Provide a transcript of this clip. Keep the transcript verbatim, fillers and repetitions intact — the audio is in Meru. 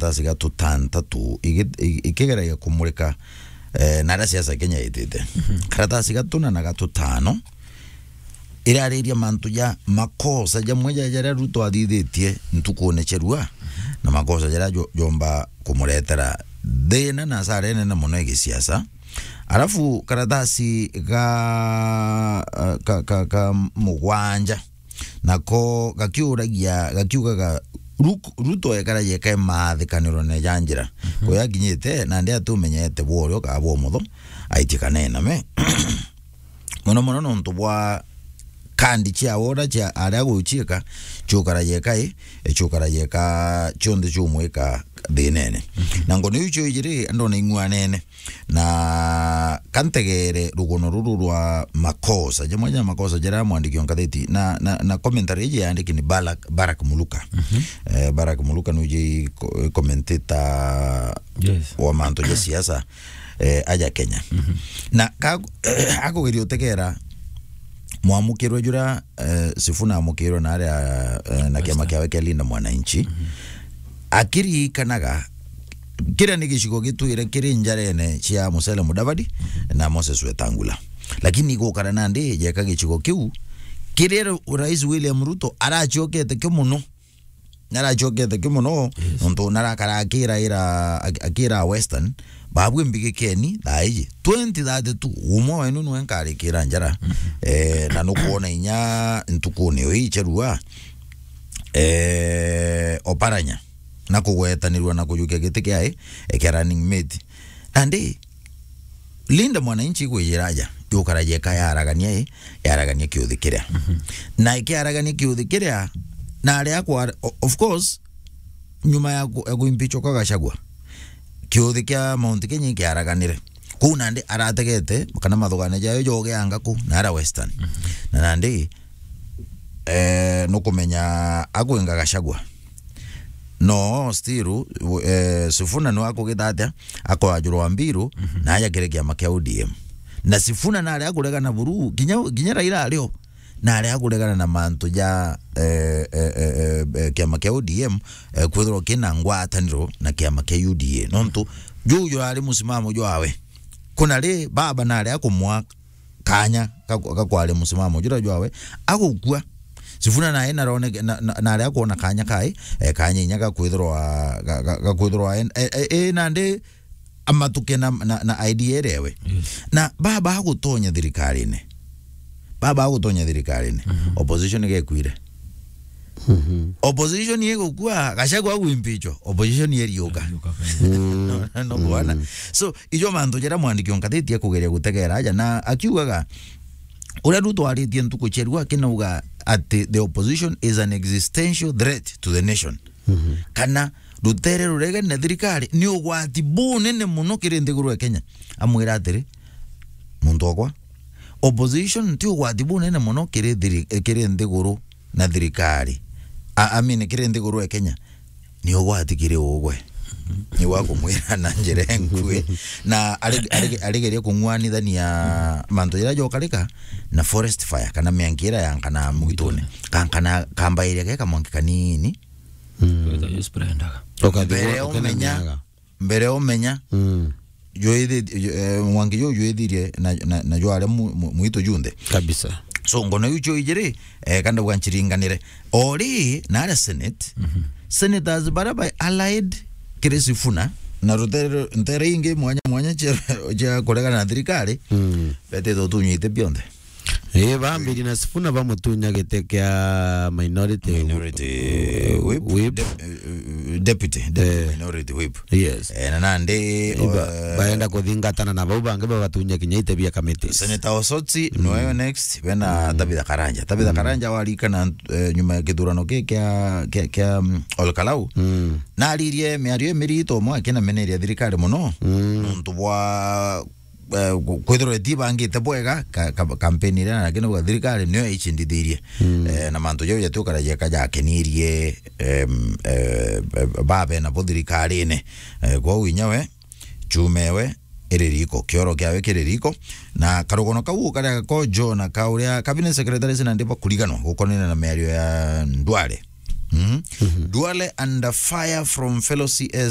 karatasi ga tutantatu igi-, i-, ikigeragia kumurika, eh, na aria siasa Kenya itite. Mhm. Karatasi ga tuna na ga tutano irariria mantu ja makosa jamwe ja jaria Ruto athithitie ntukune cia rua, na makosa jaria jo-, jomba kumuretera thina na asara inene mono ya gisiasa. Alafu karatasi ga, ka, ka, ka mugwanja, nako gakiuragia, gakiugaga, Ruk-, Ruto ekaragia eka imathikaniro ne ja njira. Mhm. Kuya akinyite, nandi atumenyete bwa urio kana bwa umotho, aitie kana ename. Mono mono nontu bwa kandi cia ora cia aria guciika, ciukaragia eka i, ciukaragia eka cionthe ciumwika thinene. Mhm. Na ngono iu cio ijiri, andona ing'uanene. Na kantegere rugono ruru rwa makosa, jamwe ja makosa jaria mwandiki wa ngatheti, na, na, na commentary iji yandiki ni Balak, Barak Muluka. Mhm. Eh, Barak Muluka nuje ko-, commentator Yes. wa mantu ja siasa, eh, aja Kenya. Mhm. Na ka-, akugeria utegera mwamukirwe jura, eh, Sifuna amukirwe na aria, eh, na kiama Western. Kiawe kia Linda Mwananchi. Mhm. Akiririkanaga kiria ni gicigo gitwire kiri njarene cia Musalia Mudavadi na Moses Wetangula. Lakini gukara nandi jeka gicigo kiu kiria Rais William Ruto aracokete kio mono. Naracokete kio mono, Yes. nontu narakara akiraira, ak-, akira Western, babwe mbigikeni thaa iji. Twenty thirty-two, umwe wenu nwe nkarikira njara. Mhm. Eh, na nukwona inya ntukuni ii cia rua, eh, Oparanya na kugwetanirua na kujukia giti kia, eh, kia running mate. Nandi, Linda Mwananchi igwijira aja, yukaragia eka yaragania i, yaragania kiuthi kiria. Mhm. Na ikiaragania kiuthi kiria, na aria akwa, o-, of course, nyuma ya ku-, ya kuimpeachwa kwa Gachagua, kiuthi kia Mount Kenya ikiaraganire. Kuu nandi arategete, kana mathugania jayo jogeanga ku, na ara Western. Mhm. Na nandi, eh, nukumenya akwinga Gachagua. No, still, eh, Sifuna nwe akugita atia, akoajurwa mbiru, Mhm. na aja kiri kiama kia O D M. Na Sifuna nari akuregana buru, kinya, kinya Raila ario, nari akuregana na mantu ja, eh, eh, eh, eh, eh, kiama kia O D M, eh, kwithirwa kina ngwataniro na kiama kia U D A. Nontu, juu jurari musimamo jwawe. Kuna ri, baba nari akumwa kanya ga, ga kwaria musimamo juria jwawe, agukua. Sifuna nae narone, na, na, nari akwona kanya kae, eh, kanya inya ga kwithirwa, ga, ga, ga kwithirwa en-, eh, eh, eh, nandi amatuke na, na, na idea iria ewe. Yes. Na baba agutonya thirikarine. Baba agutonya thirikarine. Mhm. Opposition gekwire. Mhm. Opposition igukua, Gachagua agwimpichwa, opposition iriuka. Iriuka. Mm. No, no, bwana. Mm. So, ijo mantu jaria mwandiki wa ngatheti akugeria gutegera aja, na akiugaga, uria Ruto aritie ntuku cia rua, akinauga ati the opposition is an existential threat to the nation. Mhm. Kana rutere ruregene na thirikari ni ugwati bunene muno kiri nthiguru ya Kenya. Amwira atiri, muntu okwa, opposition ti ugwati bunene muno kiri thiri-, kiri nthiguru na thirikari. A-, I mean, kiri nthiguru ya Kenya. Ni ugwati kiri ugwe. Ni wa kumwira na njira enkui. Na ari-, ari-, arigeria kung'wanithania mantu jaria jokarika na forest fire, kana mianki iria yankana mugitune. Kankana, kambairia ge kamwanki kanini. Mm. Ukathigwa, ukathigwa miaga. Mbere umenya, mbere umenya, Mm. jwithitie, eh, mwanki juu jwithirie na, na, na jware mu-, mu-, mwitu junthe. Kabisa. So, ngono iu cio ijiri, eh, kandauga nchiringanire. Ori, na aria Senate, Mhm. Senators baria bai allied kiri Sifuna, na rutere, ntere ingi mwanya mwanya cia, cia kuregana na thirikari, Mm. betite utunyite bionthe. Ii, bambiri na Sifuna bamutunya giti kia minority Minority whip. Whip. Dep-, eh, eh, deputy, deputy Eh. minority whip. Yes. Eh, na nandi, Iba-, eh, baenda kuthingatana na bau bangi bagatunya kinya ite bia kamiti. Senator Osotsi, Mm. noyo next, bena Mm. Tabitha Karanja. Tabitha Mm. Karanja warikana, eh, nyuma ya kithurano ki kia, kia, kia, mm, Ol Kalou. Mm. Naririe miario imirito mwe akinameneria thirikari muno. Mm. Nontu bwa eh, ku-, kwithirwa itibangite bwega, ka-, ka-, kampeni iria, lakini uga thirikari niyo icindithirie. Mm. Eh, na mantu jau jatiukaragia ka jakenirie, em, eh, eh, babe nabo thirikarine. Eh, kwou inya we, chuma ewe iri riko, kioro kiawe kiri riko, na karugono kau karia ko Jona ka uria cabinet secretary sina ndiba kuriganwa gukonene na miario ya Ndwale. Mm. Mhm. Duale under fire from fellow C S